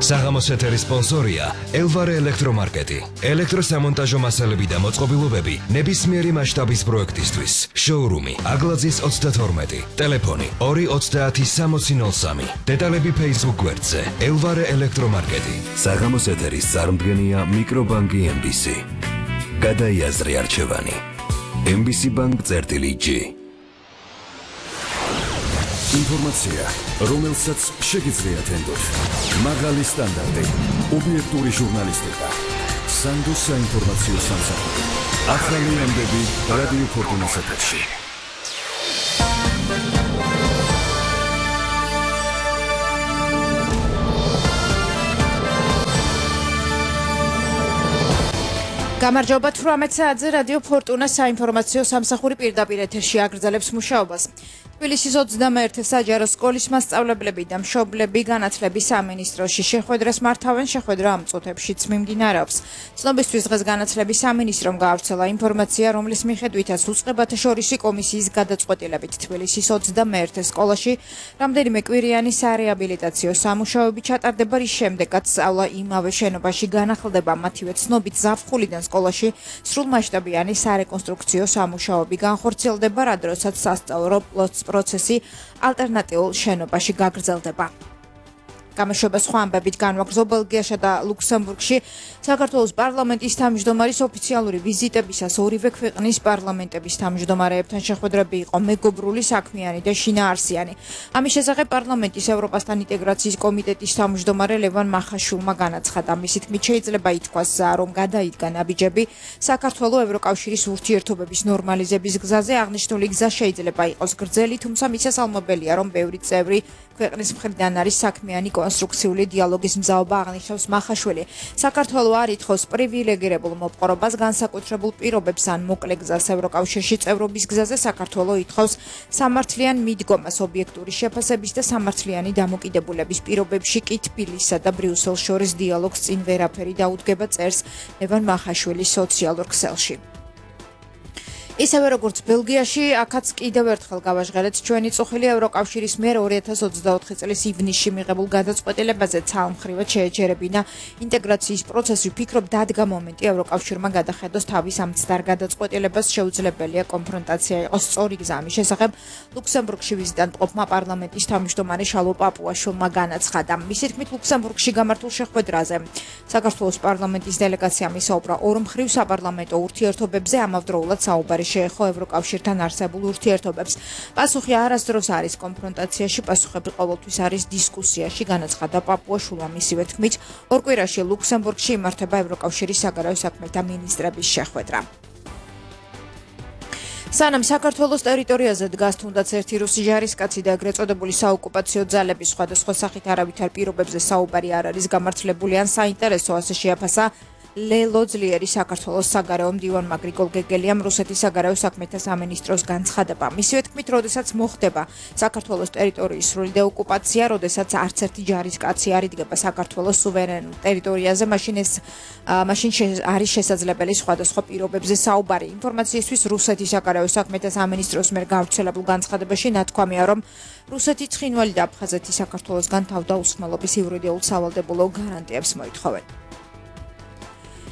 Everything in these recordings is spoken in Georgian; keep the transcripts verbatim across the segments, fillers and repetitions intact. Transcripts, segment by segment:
საღამოს ეთერის სპონსორია ელვარე ელექტრომარკეტი. ელექტროსამონტაჟო მასალები და მოწყობილობები ნებისმიერი მასშტაბის პროექტისთვის. შოურუმი აგლაძის ოცდათორმეტი. ტელეფონი ორი ოცდაათი სამოცი ნოლ სამი. დეტალები Facebook გვერდზე ელვარე ელექტრომარკეტი. საღამოს ეთერის წარმდგენია მიკრობანკი ემ ბი სი. გადაიაზრე არჩევანი. ემ ბი სი ბანკ წერტილი ჯი. ინფორმაცია, რომელსაც შეგიძლიათ ენდოთ. მაღალი სტანდარტი, ობიექტური ჟურნალისტიკა. სანდო საინფორმაციო სამსახური. ახალი ამბები რადიო ფორტუნას ეთერში. გამარჯობა თვრამეტ საათზე რადიო ფორტუნას საინფორმაციო სამსახური პირდაპირ ეთერში აგრძელებს მუშაობას. თბილისის ოცდამეერთე საჯარო სკოლის მასწავლებლები და მშობლები განათლების სამინისტროში შეხვედრას მართავენ. შეხვედრა ამ წუთებშიც მიმდინარეობს. ცნობისთვის დღეს განათლების სამინისტრომ გაავრცელა ინფორმაცია, რომლის მიხედვითაც უწყებათა შორისი კომისიის გადაწყვეტილებით თბილისის ოცდამეერთე სკოლაში რამდენიმე კვირიანი სარეაბილიტაციო სამუშაოები ჩატარდება, რის შემდეგაც სწავლა იმავე შენობაში განახლდება. მათივე ცნობით ზაფხულიდან სკოლაში სრულმასშტაბიანი სარეკონსტრუქციო სამუშაოები განხორციელდება, რა დროსაც სასწავლო პროცესი ალტერნატიულ შენობაში გაგრძელდება. გამოშვება სხვა ამბებით განვაგრძო ბელგიასა და ლუქსემბურგში საქართველოს პარლამენტის თავმჯდომარის ოფიციალური ვიზიტებისას ორივე ქვეყნის პარლამენტების თავმჯდომარეებთან შეხვედრები იყო მეგობრული, საქმიანი და შინაარსიანი. ამის შესახებ პარლამენტის ევროპასთან ინტეგრაციის კომიტეტის თავმჯდომარე ლევან მახაშვილმა განაცხადა. მისი თქმით შეიძლება ითქვას, რომ გადაიდგა ნაბიჯები საქართველოს ევროკავშირის ურთიერთობების ნორმალიზების გზაზე. აღნიშნული გზა შეიძლება იყოს გრძელი, თუმცა მისასალმებელია, რომ ბევრი წევრი ქვეყნის მხრიდან არის საქმიანი კონსტრუქციული დიალოგის მზაობა, აღნიშნავს მახაშვილი. საქართველოს არ ითხოვს პრივილეგირებულ მოპყრობას, განსაკუთრებულ პირობებს ან მოკლე გზას ევროკავშირში წევრობის გზაზე. საქართველოს ითხოვს სამართლიან მიდგომას ობიექტური შეფასების და სამართლიანი დამოკიდებულების პირობებში კი თბილისსა და ბრიუსელს შორის დიალოგს წინ ვერაფერი დაუდგება, წერს ლევან მახაშვილი სოციალურ ქსელში. ისევე როგორც ბელგიაში, აქაც კიდევ ერთხელ გავაჟღერეთ ჩვენი წუხილი ევროკავშირის მიერ ორი ათას ოცდაოთხი წლის ივნისში მიღებულ გადაწყვეტილებაზე ცალმხრივად შეეჯერებინა ინტეგრაციის პროცესი. ვფიქრობ, დადგა მომენტი ევროკავშირმა გადახედოს თავის ამ ცდარ გადაწყვეტილებას. შეუძლებელია კონფრონტაცია იყოს სწორი გზა. ამის შესახებ ლუქსემბურგში ვიზიტად მყოფმა პარლამენტის თავმჯდომარე შალო პაპუაშვილმა განაცხადა. მისი თქმით, ლუქსემბურგში გამართულ შეხვედრაზე საქართველოს პარლამენტის დელეგაციამ ისაუბრა ორმხრივ საპარლამენტო ურთიერთობებზე, ამავდროულად საუბარი შეეხო ევროკავშირთან არსებულ ურთიერთობებს. პასუხი არასდროს არის კონფრონტაციაში, პასუხები ყოველთვის არის დისკუსიაში, განაცხადა პაპუაშვილმა. მისივე თქმით, ორ კვირაში ლუქსემბურგში იმართება ევროკავშირის საგარეო საქმეთა მინისტრების შეხვედრა. სანამ საქართველოს ტერიტორიაზე დგას თუნდაც ერთი რუსი ჯარისკაცი და ეგრეთ წოდებული საოკუპაციო ძალების სხვადასხვა სახით არავითარ პირობებზე საუბარი არ არის გამართლებული ან საინტერესო, ასე შეაფასა ლელო ძლიერი საქართველოს საგარეო მდივანმა გრიგოლ გეგელიამ რუსეთის საგარეო საქმეთა სამინისტროს განცხადება. მისივე თქმით, როდესაც მოხდება საქართველოს ტერიტორიის სრული დეოკუპაცია, როდესაც არც ერთი ჯარისკაცი არ იდგება საქართველოს სუვერენულ ტერიტორიაზე, მაშინ ეს მაშინ არის შესაძლებელი სხვადასხვა პირობებზე საუბარი. ინფორმაციისთვის რუსეთის საგარეო საქმეთა სამინისტროს მიერ გავრცელებულ განცხადებაში ნათქვამია, რომ რუსეთი ცხინვალი და აფხაზეთი საქართველოსგან თავდაუსხმელობის იურიდიულ სავალდებულო გარანტიებს მოითხოვენ.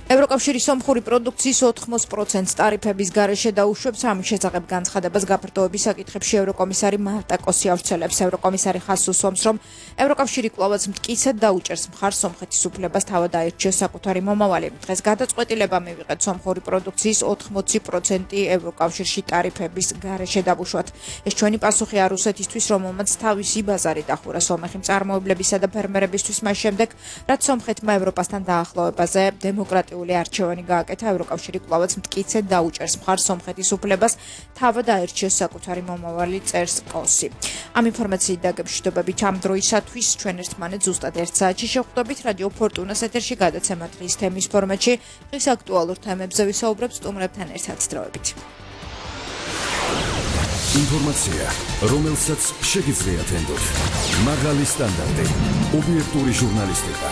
ევროკავშირის სომხური პროდუქციის ოთხმოც პროცენტს ტარიფების გარეშე დაუშვებს. ამის შესახებ განცხადებას გაფართოების საკითხებში ევროკომისარი მარტა კოსი ავრცელებს. ევროკომისარი ხაზს უსვამს, რომ ევროკავშირი კვლავაც მტკიცედ დაუჭერს მხარს სომხეთის უფლებას თავად აირჩიოს საკუთარი მომავალი. დღეს გადაწყვეტილება მივიღეთ სომხური პროდუქციის ოთხმოცი პროცენტი ევროკავშირში ტარიფების გარეშე დავუშვათ. ეს ჩვენი პასუხია რუსეთისთვის, რომელმაც თავისი ბაზარი დახურა სომეხი მწარმოებლებისა და ფერმერებისთვის მას შემდეგ, რაც სომხეთმა ევროპასთან დაახლოვებაზე დემოკრატიული არჩევანი გააკეთა. ევროკავშირი კვლავაც მტკიცედ დაუჭერს მხარს სომხეთის უფლებას თავად აირჩიოს საკუთარი მომავალი, წერს კოსი. ამ ინფორმაციით დაგემშვიდობებით ამ დროისათვის ჩვენ ერთმანეთს ზუსტად ერთ საათში შევხვდებით რადიო ფორტუნას ეთერში გადაცემა დღის თემის ფორმატში. დღის აქტუალურ თემებზე ვისაუბრებთ სტუმრებთან ერთად დროებით. ინფორმაცია, რომელსაც შეგიძლიათ ენდოთ. მაღალი სტანდარტი, ობიექტური ჟურნალისტიკა.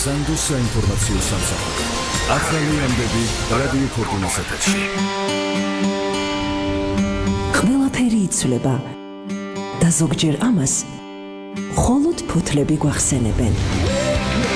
სანდო საინფორმაციო სამსახური. ახალი ამბები რადიო ფორტუნას ეთერში. ყველაფერი იცვლება და ზოგჯერ ამას მხოლოდ ფოთლები გვახსენებენ.